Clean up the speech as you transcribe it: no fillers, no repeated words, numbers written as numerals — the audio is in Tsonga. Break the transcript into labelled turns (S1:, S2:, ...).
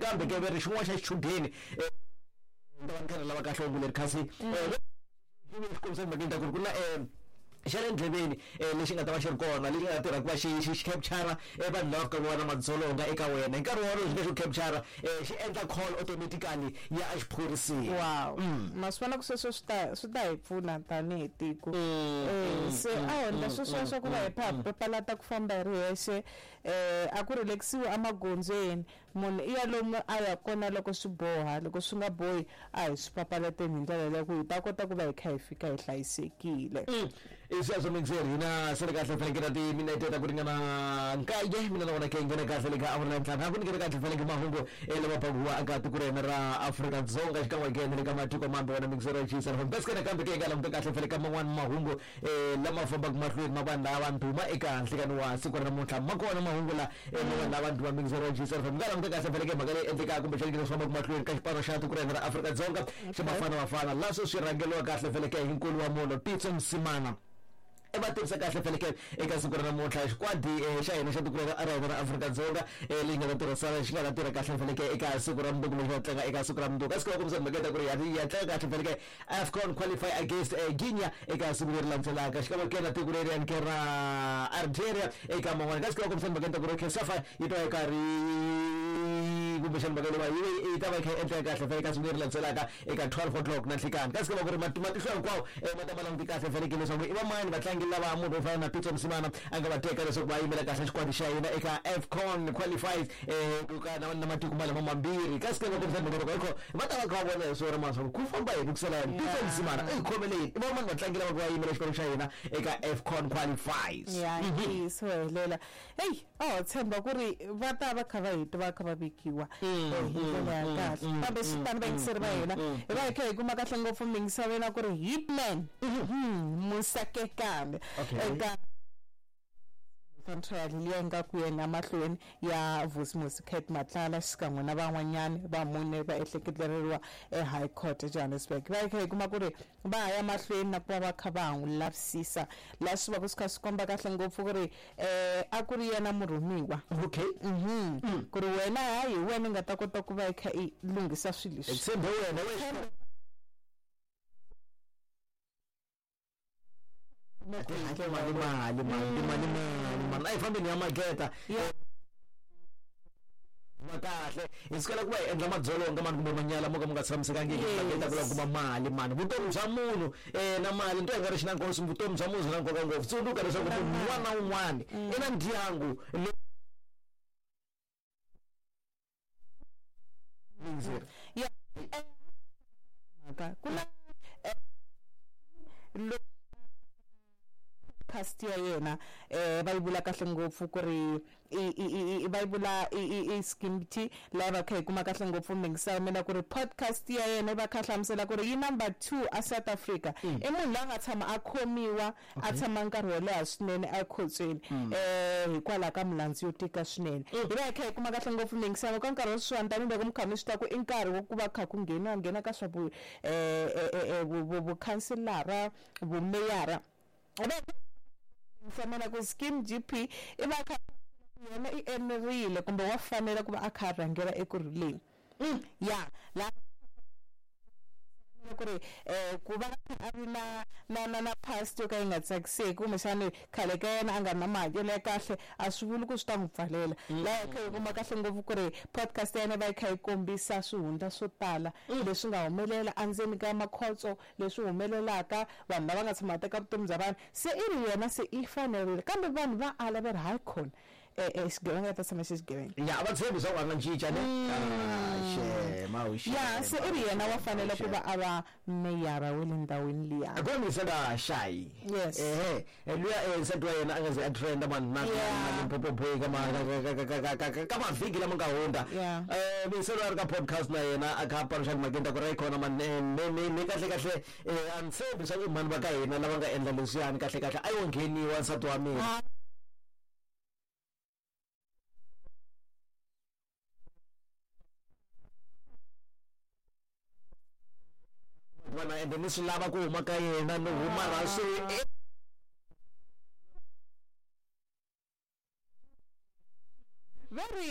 S1: Kambe ke ve ri xin'wana xa xichudeni ni ta va ni kha ni lava kahle hungu leri kasi xi kombisa timhakeni ta ku ri ku na xa le ndleveni lexi nga ta va xi ri kona lexi nga ta tirha ku va xi xi xi capture vanhu lava fikaka va na madzolonga eka wena hi nkarhi wolowo xi nga xi ku capture xi endla call automatically ya exiphoriseni.
S2: Wow ma swi vona ku sweswo swi ta swi ta hi pfuna tanihi tiko se a ho endla sweswiya swa ku va hi papalata ku famba hi ri hexe a ku relax-iwi emagondzweni. Munhu i ya lomu a ya kona loko swi boha, loko swi nga bohi a hi swi papalateni hi ndlela leyo ku hi ta kota ku va hi kha hi fika hi hlayisekile.
S1: I sweswo mixer hina se ri kahle fanekele na timinete ta ku ringana nkaye mina na wena ke nghena kahle le ka awara ya ntlhanu ha ku nyikela kahle fanekele mahungu lama pakuwa eka tiko ra hina ra Afrika-Dzonga xikan'we ke na le ka matiko mambe wena mixer ya Chisa FM bese nakambe ke hi nga languta kahle fanekele ka man'wani mahungu lama fambaka mahlweni ma vanhu lava ndhuma eka nhlikani wa siku ra namuntlha ma kona mahungu la ma vanhu lava ndhuma mixer ya Chisa FM nga languta kahle fanekele mhaka leyi endlekaka kumbexana leswi fambaka mahlweni ka xipano xa tiko ra hina ra Afrika-Dzonga xa Bafana Bafana laha sweswi swi rhangeriwa kahle feleke hi nkulu wa munhu Pitso Mosimane i va tivisa kahle feleke eka siku ra namuntlha xikwadi xa hina xa tiko ra hina ra Afrika-Dzonga leyi nga ta tirhisana xi nga ta tirha kahle feleke eka siku ra mundzuku lexi nga tlanga eka siku ra mundzuku kasi ku va kombisa mhaka ta ku ri ya tlanga kahle feleke AFCON qualify against Guinea eka siku leri landzelaka xikan'we ke na tiko leri ke ra Algeria eka man'wana kasi ku va kombisa mhaka ta ku ri COSAFA yi ta va yi karhi kumbexana mhaka leyi yi ta va yi kha yi endleka kahle fele eka siku leri landzelaka eka 12 o'clock na nhlikani kasi ku va ku ri matihlo hinkwawo ma ta ma languti kahle fanekele leswaku i vamani vatlangi lava munhu wo fana na Pitso Mosimane a nga va teka leswaku va yimela kahle xikwadi xa hina eka AFCON qualifies ku ka na matiko malama mambirhi kasi ke va kombisa mhaka loko hikho va ta va kha va vona hi swona ma swa ku famba yini ku sala yini Pitso Mosimane i khomele yini i vamani vatlangi lava va yimela xipano xa hina eka AFCON qualifies
S2: ya ntiyiso helela heyi a ho tshemba ku ri va ta va kha va hi twa va kha va vekiwa hi ndlela ya kahle kambe swi tani vayingiseri va hina hi va hi kha hi kuma kahle ngopfu mingisaveni ku ri hitman Musakekane eka trial liya nga ku yena mahlweni ya Vusimusi Cat Matlala xikan'we na van'wanyana va mune va ehleketeleriwa eHigh Court eJohannesburg. Va hi kha hi kuma ku ri va ha ya mahlweni na ku va va kha va ha n'wi lavisisa laha swi va ku swi kha swi komba kahle ngopfu ku ri a ku ri yena murhumiwa.
S1: Okay.
S2: Ku ri wena hayi hi wena i nga ta kota ku va i kha i lunghisa swilo leswi.
S1: Hi tshembe wena we. Mali mali mali mali mali mali a hi fambeni ya maketa va kahle hi sukela ku va hi endla madzolonga mani kumbe manyala mo ka mo nga tshamisekangiki maketa ku lava kuma mali mani vutomi bya munhu na mali nto yi nga ri xi na nkoka vutomi bya munhu byi na nkoka ngopfu tsundzuka leswaku munhu un'wana na un'wana i na ndyangu
S2: ya mhaka ku na past ya yena va yi vula kahle ngopfu ku ri i va yi vula i Skimpy laha va kha hi kuma kahle ngopfu mingisa ya mina ku ri podcast ya yena yi va kha hlamusela ku ri yi number 2 a South Africa i munhu loyi a nga tshama a khomiwa a tshama nkarhi wo leha swinene ekhotsweni hikwalaho ka milandzu yo tika swinene. Hi va hi kha hi kuma kahle ngopfu mingisano ka nkarhi wa sweswiwani tanihiloko mi kha mi swi tiva ku i nkarhi wa ku va kha ku ngheniwa nghena ka swa vukhanselara, vumeyara. Hi va hi hlamala ku Skim GP i va a kha yena i enerile kumbe wa fanela ku va a kha a rhangela ekurhuleni. Ya la ku ri ku va a ri na na na na past yo ka yi nga tsakiseki kumbexani khale ka yena a nga ri na mahanyelo ya kahle a swi vuli ku swi ta n'wi pfalela. Laha hi kha hi kuma kahle ngopfu ku ri podcast ya yena yi va yi kha yi kombisa swihundla swo tala leswi nga humelela endzeni ka makhotso, leswi humelelaka vanhu lava nga tshama va teka vutomi bya vanhu se i ri yena se i fanerile kambe vanhu va ala va ri hayi khona xigevenga ta tshama xi xigevenga.
S1: Ya a va tshembi swa ku a nga cinca ne xema
S2: ya se i ri yena wa fanele ku va a va meyara wa le ndhawini liya.
S1: Ku misa ka Shayi.
S2: Yes.
S1: Ehe luya nsati wa yena a nga ze a trenda man na Limpopo boy ka ma ka mavhiki lama nga hundza. Misa loyi a ri ka podcast na yena a kha a paluxa timhakeni ta ku ri khona man me kahle kahle a ni tshembi swa ku mhani va ka hina lava nga endla leswiyani kahle kahle a yo ngheniwa nsati wa mina. Vona ende ni swi lava ku huma ka yena ni huma ra swi
S2: va ri